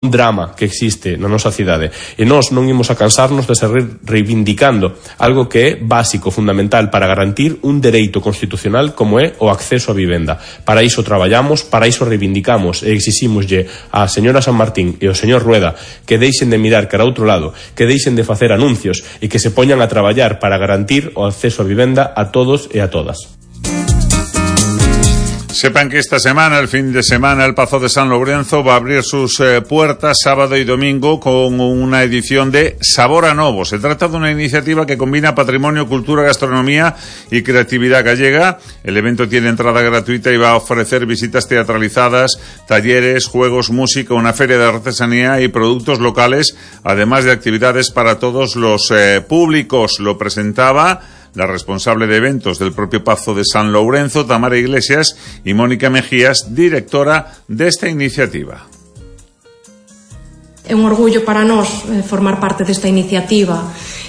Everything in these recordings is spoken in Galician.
drama que existe na nosa cidade, e nós non imos a cansarnos de seguir reivindicando algo que é básico, fundamental para garantir un dereito constitucional como é o acceso á vivenda. Para iso traballamos, para iso reivindicamos e exixímoslle á señora San Martín e ao señor Rueda que deixen de mirar cara a outro lado, que deixen de facer anuncios e que se poñan a traballar para garantir o acceso á vivenda a todos e a todas. Sepan que esta semana, el fin de semana, el Pazo de San Lourenzo va a abrir sus puertas sábado y domingo con una edición de Sabor a Novo. Se trata de una iniciativa que combina patrimonio, cultura, gastronomía y creatividad gallega. El evento tiene entrada gratuita y va a ofrecer visitas teatralizadas, talleres, juegos, música, una feria de artesanía y productos locales, además de actividades para todos los públicos. Lo presentaba la responsable de eventos del propio Pazo de San Lourenzo, Tamara Iglesias, y Mónica Mejías, directora de esta iniciativa. É un orgullo para nós formar parte desta iniciativa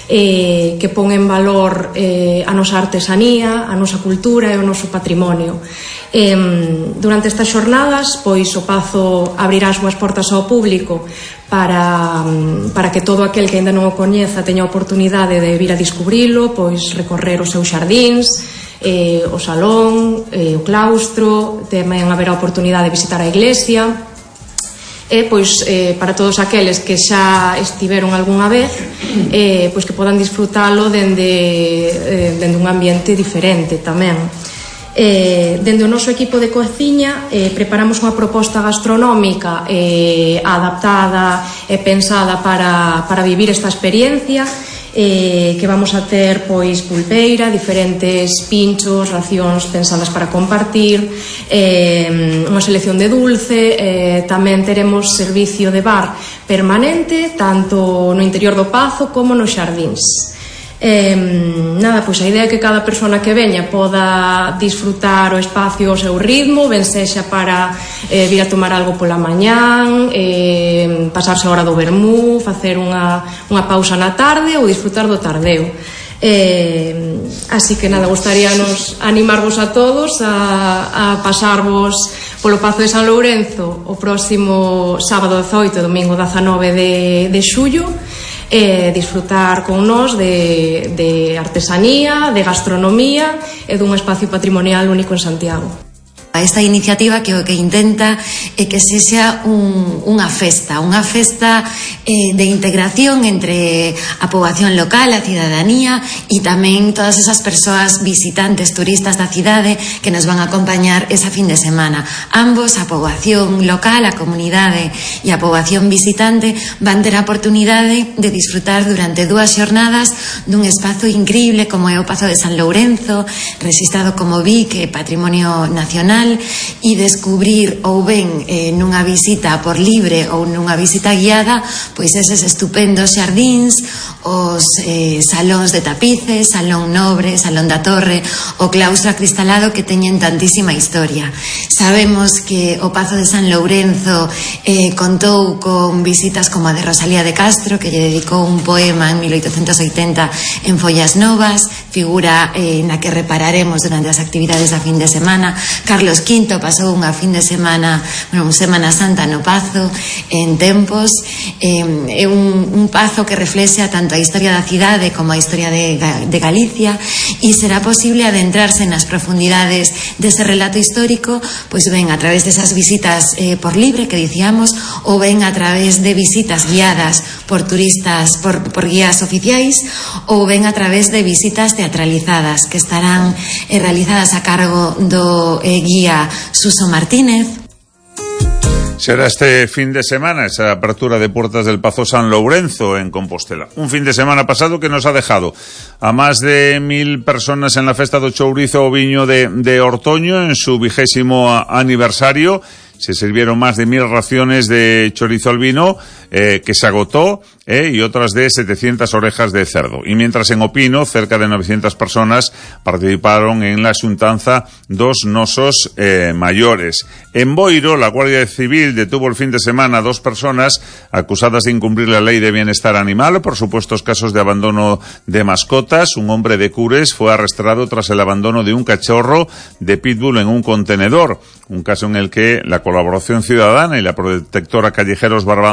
que pon en valor a nosa artesanía, a nosa cultura e o noso patrimonio. Durante estas xornadas, pois o Pazo abrirá as súas portas ao público para que todo aquel que ainda non o coñeza teña a oportunidade de vir a descubrilo, pois recorrer os seus xardíns, o salón, o claustro, tamén haberá a oportunidade de visitar a iglesia. Pois para todos aqueles que xa estiveron algunha vez, pois que podan disfrutalo dende un ambiente diferente tamén. Dende o noso equipo de cociña preparamos unha proposta gastronómica adaptada e pensada para vivir esta experiencia, que vamos a ter pois pulpeira, diferentes pinchos, racións pensadas para compartir, unha selección de dulce, tamén teremos servicio de bar permanente tanto no interior do Pazo como nos xardíns. Nada, pois a idea é que cada persona que veña poda disfrutar o espacio ao seu ritmo, ben sexa para vir a tomar algo pola mañán, pasarse a hora do vermú, facer unha pausa na tarde ou disfrutar do tardeo. Así que nada, gustaríanos animarvos a todos a pasarvos polo Pazo de San Lourenzo o próximo sábado 18 e domingo 19 de xullo, disfrutar con nós de artesanía, de gastronomía e dun espacio patrimonial único en Santiago. Esta iniciativa que o que intenta é que sexa unha festa de integración entre a poboación local, a cidadanía e tamén todas esas persoas visitantes, turistas da cidade que nos van a acompañar esa fin de semana. Ambos, a poboación local, a comunidade e a poboación visitante, van ter a oportunidade de disfrutar durante 2 xornadas dun espazo increíble como é o Pazo de San Lourenzo, rexistrado como BIC, Patrimonio Nacional, e descubrir ou ben nunha visita por libre ou nunha visita guiada pois eses estupendos xardíns, os salóns de tapices, Salón Nobre, Salón da Torre, o claustro acristalado que teñen tantísima historia. Sabemos que o Pazo de San Lourenzo contou con visitas como a de Rosalía de Castro, que lle dedicou un poema en 1880 en Follas Novas, figura na que repararemos durante as actividades da fin de semana. Carlos V pasou unha fin de semana, unha Semana Santa no Pazo en Tempos. É un Pazo que reflexa tanto a historia da cidade como a historia de Galicia, e será posible adentrarse nas profundidades dese relato histórico, pois ben a través desas visitas por libre que dicíamos, ou ben a través de visitas guiadas por turistas, por guías oficiais, ou ben a través de visitas teatralizadas que estarán realizadas a cargo do guía Suso Martínez. Será este fin de semana esa apertura de puertas del Pazo San Lourenzo en Compostela. Un fin de semana pasado que nos ha dejado a más de 1.000 personas en la Festa do Chourizo o Viño de Ortoño en su 20º aniversario. Se sirvieron más de 1.000 raciones de chorizo al vino que se agotó y otras de 700 orejas de cerdo. Y mientras en Opino, cerca de 900 personas participaron en la xuntanza dos nosos mayores. En Boiro, la Guardia Civil detuvo el fin de semana a 2 personas acusadas de incumplir la ley de bienestar animal por supuestos casos de abandono de mascotas. Un hombre de Cures fue arrestado tras el abandono de un cachorro de pitbull en un contenedor, un caso en el que la colaboración ciudadana y la protectora Callejeros Barbanza